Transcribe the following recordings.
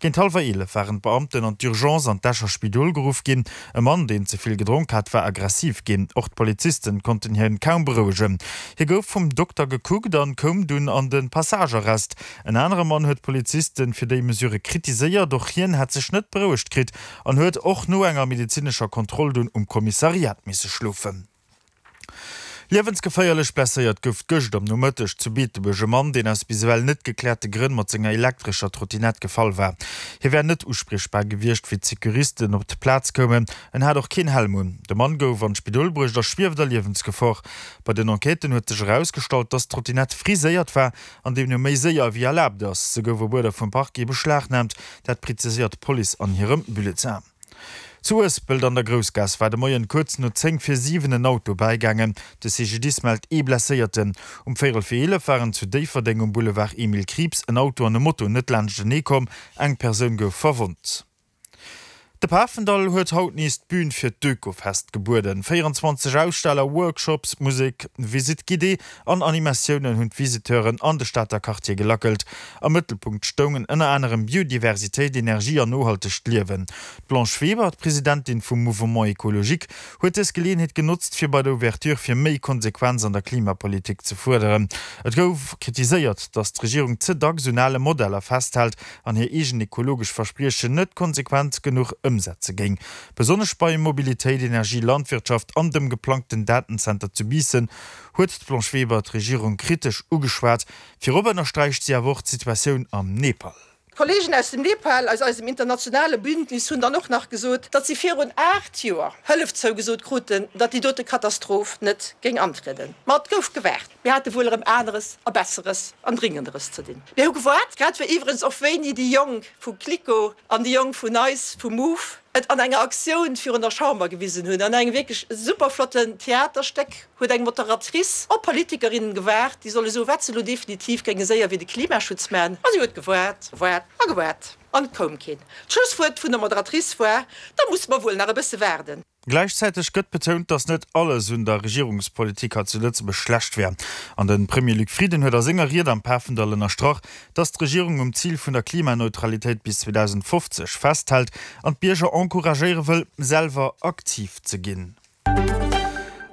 Géint hallwer 11 waren d'Beamten an d'Urgence an d'Escher Spidol geruff ginn. E Mann, deen ze vill gedronk hat, war aggressiv ginn. Och d'Polizisten konnten hien kaum berouegen. Hie gouf vum Dokter gekuckt an koum dunn an de Passagearrest. En anere Mann huet d'Polizisten fir déi Mesure kritiséiert. Och hien hätt sech net berouegt kritt an huet och no enger medezinescher Kontroll dunn um Kommissariat misse schlofen. Liewensgeféierlech blesséiert gouf gëscht am Nomëtteg zu Beetebuerg e Mann, deen aus bis ewell net gekläerte Grënn mat senger elektrescher Trottinett gefall war. Hie wär net uspriechbar gewiescht, wéi d'Securisten op d'Plaz koumen. En hat och keen Helm un. De Mann gouf an d'Spidol bruecht a schwieft a Liewensgefor. Bei den Enquêten huet sech erausgestallt, dass d'Trottinett friséiert war an deemno méi séier ewéi erlaabt ass. Se gouf op Uerder vum Parquet beschlagnaamt, dat preziséiert d'Police an hirem Bulletin. Zu Uespelt an der Groussgaass war de Moien kuerz no 10 vir 7 en Auto bäigaangen. De CGDIS mellt ee Blesséierten. Um véierel vir 11 waren zu Déifferdeng um Boulevard Emile Krieps en Auto an e Moto net laanschtenee komm. Eng Persoun gouf verwonnt. De Pafendall huet haut nees d'Bün fir d'Oekofest gebueden. 24 Aussteller, Workshops, Musek, Visite guidée an Animatiounen hunn d'Visiteuren an de Stater Quartier gelackelt. Am Mëttelpunkt stoungen ënner anerem Biodiversitéit, Energie an nohaltegt Liewen. D'Blanche Weber, d'Presidentin vum Mouvement Ecologique, huet dës Geleeënheet genotzt, fir bei der Ouverture fir méi Konsequenz an der Klimapolitik ze fuerderen. Et gouf kritiséiert, datt d'Regierung ze dacks un ale Modeller festhält an hir eegen ekologesch Verspriechen net konsequent genuch ëmsetze géing. Besonnesch bei Mobilitéit, Energie, Landwirtschaft an dem geplangten Datenzenter zu Biissen huet d'Blanche Weber d'Regierung kritesch ugeschwat. Virop ënnersträicht si awer och d'Situatioun am Nepal. D'Kollegen aus dem Nepal, aus eisem internationale Bündnis, hunn dann och nach gesot, datt si virun 8 Joer Hëllef zougesot kruten, datt déi dote Katastroph net géing antrieden. Ma et gouf gewaart. Mir hate wuel erëm aneres a Besseres an Dringenderes ze dinn. Mir hu gewaart, grad wéi iwwerens och wéini déi Jonk vu Kliko an déi Jonk vun eis vu Move et an enger Aktioun virun der Chamber gewisen hunn, an engem wierklech super flotten Theaterstéck. huet eng Moderatrice op Politikerinnen gewaart, déi solle soen, wat se elo definitiv géinge séier fir de Klimaschutz man. A si huet gewaart, gewaart a gewaart, an et koum keen. D'Schlusswuert vun der Moderatrice war, Da musse mer wuel nach e bësse waarden. Gläichzäiteg gëtt betount, datt net alles un der Regierungspolitik hei zu Lëtzebuerg schlecht wär. An de Premier Luc Frieden huet a senger Ried am Pafendall ënnerstrach, datt d'Regierung um Zil vun der Klimaneutralitéit bis 2050 festhält an d'Bierger encouragéiere wëll, selwer aktiv ze ginn.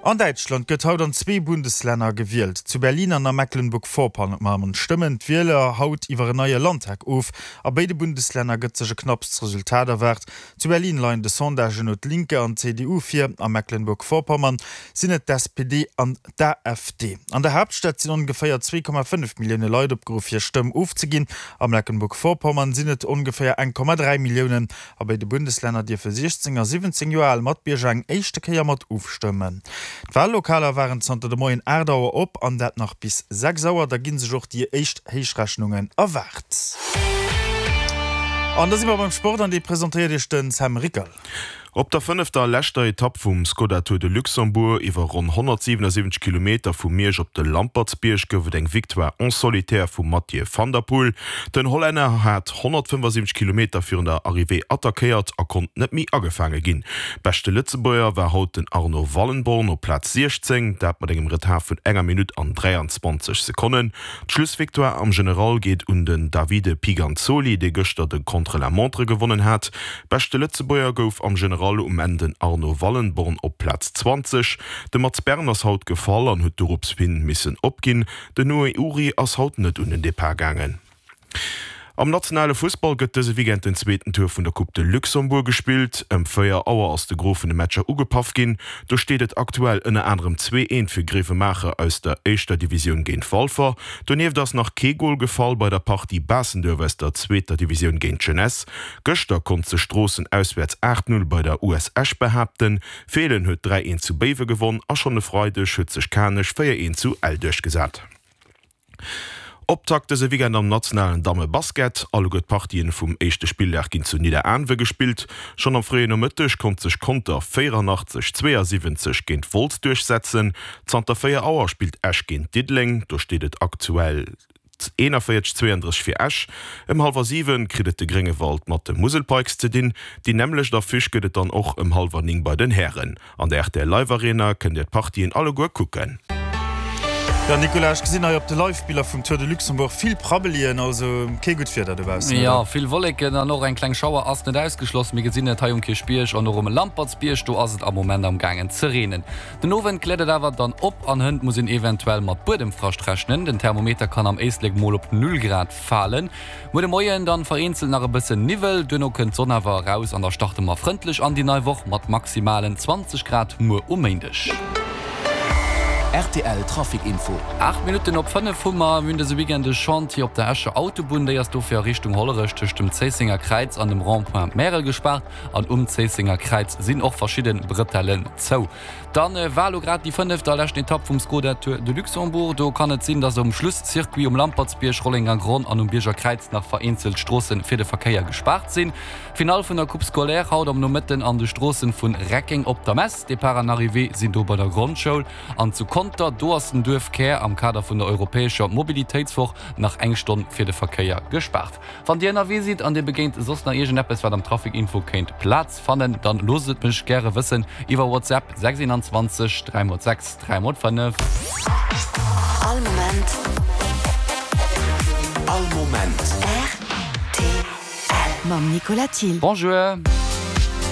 An Däitschland gëtt haut an zwee Bundeslänner gewielt. Zu Berlin an a Mecklenburg-Vorpommern stëmmen d'Wieler haut iwwer en neie Landtag of. A béide Bundeslänner gëtt sech e knapps Resultat erwaart. Zu Berlin leien de Sondagen no d'Linke an d'CDU vir, a Mecklenburg-Vorpommern sinn et d'SPD an d'AfD. An der Haaptstad sinn ongeféier 2,5 Millioune Leit opgeruff hir Stëmm ofzeginn, a Mecklenburg-Vorpommern sinn et ongeféier 1,3 Milliounen. A béide Bundeslänner dierfe 16 a 17 Joer al Matbierger eng éischte Kéier mat ofstëmmen. D'Wallokaler waren zanter de Moien 8 Auer op an dat nach bis 6 Auer. Da gi sech och déi éischt Héichrechnungen erwaart. An da si mer beim Sport an dee presentéiert Iech de Sam Rickerl. Op der fënnefter a leschter Etapp vum Skoda Tour de Luxembourg iwwer ronn 177 Kilometer vu Miersch op de Lampertsbierg gouf et eng Victoire en solitaire vum Mathieu van der Poel. Den Hollänner hat 175 Kilometer virun der Arrivée attackéiert a konnt net méi agefaange ginn. Beschte Lëtzebuerger war haut den Arno Wallenborn op Plaz 16, dat mat engem Retard vun enger Minutt an 23 Sekonnen. D'Schlussvictoire am General geet un den Davide Piganzoli, dee gëschter de Contre-la-montre gewonnen hat. Beschte Lëtzebuerger gouf am General um Enn den Arno Wallenborn op Plaz 20. De Mats Bern ass haut gefall an huet dorops hin missen opginn. Den Noé Uri ass haut net un den Depart gaangen. Am nationale Fussball gëtt dëse Weekend den zweeten Tour vun der Coupe de Luxembourg gespillt. Ëm 4 Auer ass de Gros vun de Matcher ugepaff ginn. Do steet et aktuell ënner anerem 2, 1 fir Grevenmacher aus der éischter Divisioun géint Walfer. Donieft ass nach kee Gol gefall bei der Partie Baastenduerf aus der zweeter Divisioun géint d'Jeunesse. Gëschter konnt sech Stroossen auswäerts 8, 0 bei der US Esch behaapten. Feelen huet 3, 1 zu Béiwe gewonn a schonn e Freideg huet sech Kanech 4, 1 zu Ell duerchgesat. Optakt dëse Weekend am nationalen Damme-Basket. Alleguer d'Partien vum éischte Spilldag ginn zu Nidderaanwe gespillt. Schonn am fréien Nomëtteg konnt sech Conter 84, 72 géint Wolz duerchsetzen. Zanter 4 Auer spillt Esch géint Diddeleng, do steet et aktuell 41, 32 fir Esch. Ëm hallwer 7 kritt et de Gréngewald mat de Musel Pikes ze dinn. Déi nämmlecht Affiche gëtt et dann och ëm hallwer 9 bei den Hären. An der rtl Live Arena kënnt Dir d'Partien alleguer kucken. Jo Nicolas, ech gesinn hei op de Live-Biller vum Tour de Luxembourg vill Prabbelien, also kee gutt Wieder dobaussen, oder? Jo, vill Wolleken an och eng kleng Schauer ass net ausgeschloss. Mir gesinn et hei um Kierchbierg an och um Lampertsbierg, do ass et am Moment am gaangen ze reenen. Den Owend kläert et awer dann op an hënt muss een eventuell mat Buedemfrascht rechnen. Den Thermometer kann am Éislek mol op 0 Grad falen. Muer de Moien dann vereenzelt nach e bëssen Niwwel, duerno kënnt d'Sonn awer eraus an da starte mer frëndlech an déi nei Woch mat maximalen 20 Grad muer um Méindeg. Rtl Trafic Info. 8 Minutten op 5 hu mer. Mir hunn dëse Weekend e Chantier op der Escher Autobunn. Déi ass dofir a Richtung Hollerech tëscht dem Zéissenger Kräiz an dem Rond-point Märel gespaart an um Zéissenger Kräiz sinn och verschidde Brëtellen zou. Dann war elo grad déi fënneft a leschten Etapp vum Skoda Tour de Luxembourg. Do kann et sinn, dass um Schlusscircuit um Lampertsbierg, Rollenger Gronn an um Bierger Kräiz nach vereenzelt Stroosse fir de Verkéier gespaart sinn. D'Finall vun der Coupe Scolaire haut am Nomëtten an de Stroossen vun Reckeng op der Mess. Depart an Arrivée sinn do bei der Grondschoul. An zu Conter, do ass den Duerfkär am Kader vun der europäescher Mobilitéitswoch nach eng Stonn fir de Verkéier gespaart. Wann Dir ënnerwee sidd an Dir begéint soss nach iergendeppes wat am Trafic Info kéint Plaz fannen, dann loosst et mech gäre wëssen iwwer WhatsApp 6 21 3 x 6 3 x 5. All Moment. All Moment. Rtl. Mam Nicolas Thill. Bonjour.